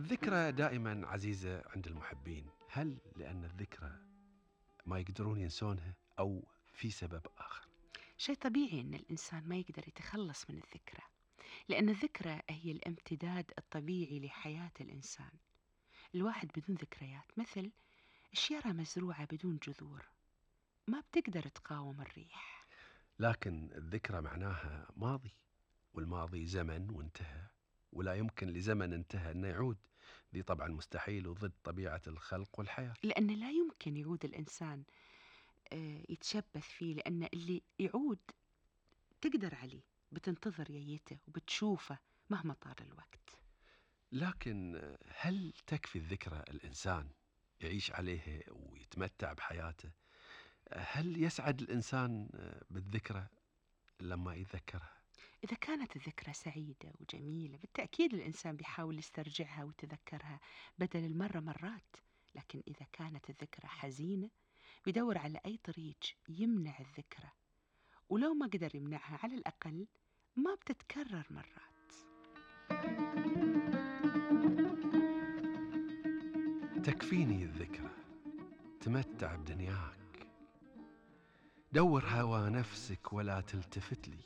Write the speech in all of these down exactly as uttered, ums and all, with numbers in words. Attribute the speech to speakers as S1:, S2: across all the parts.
S1: الذكرى دائما عزيزة عند المحبين، هل لأن الذكرى ما يقدرون ينسونها أو في سبب آخر؟
S2: شيء طبيعي إن الإنسان ما يقدر يتخلص من الذكرى، لأن الذكرى هي الامتداد الطبيعي لحياة الإنسان. الواحد بدون ذكريات مثل الشجرة مزروعة بدون جذور، ما بتقدر تقاوم الريح.
S1: لكن الذكرى معناها ماضي، والماضي زمن وانتهى، ولا يمكن لزمن انتهى أنه يعود. دي طبعا مستحيل وضد طبيعة الخلق والحياة.
S2: لأن لا يمكن يعود الإنسان آه، يتشبث فيه، لأن اللي يعود تقدر عليه، بتنتظر ييته وبتشوفه مهما طال الوقت.
S1: لكن هل تكفي الذكرى الإنسان يعيش عليها ويتمتع بحياته؟ هل يسعد الإنسان بالذكرى لما يتذكرها؟
S2: إذا كانت الذكرى سعيدة وجميلة بالتأكيد الإنسان بيحاول يسترجعها ويتذكرها بدل المرة مرات. لكن إذا كانت الذكرى حزينة بيدور على أي طريق يمنع الذكرى، ولو ما قدر يمنعها على الأقل ما بتتكرر مرات.
S1: تكفيني الذكرى، تمتع بدنياك، دور هوى نفسك ولا تلتفت لي،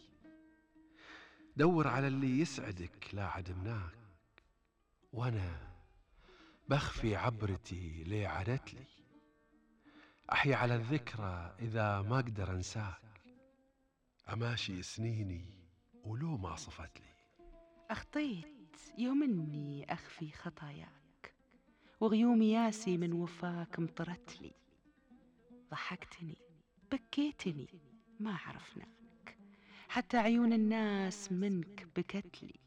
S1: دور على اللي يسعدك لا عدمناك، وانا بخفي عبرتي ليه عدت لي، احيا على الذكرى اذا ما اقدر انساك، اماشي سنيني ولو ما صفت لي.
S2: أخطيت يوم إني أخفي خطاياك، وغيوم ياسي من وفاك مطرت لي، ضحكتني بكيتني ما عرفناك، حتى عيون الناس منك بكت لي.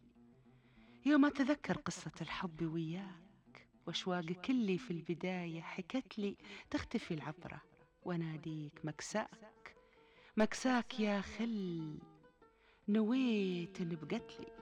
S2: يوم أتذكر قصة الحب وياك وأشواقك اللي في البداية حكت لي، تختفي العبرة وناديك مكساك، مكساك يا خل، نويت إن بقت لي.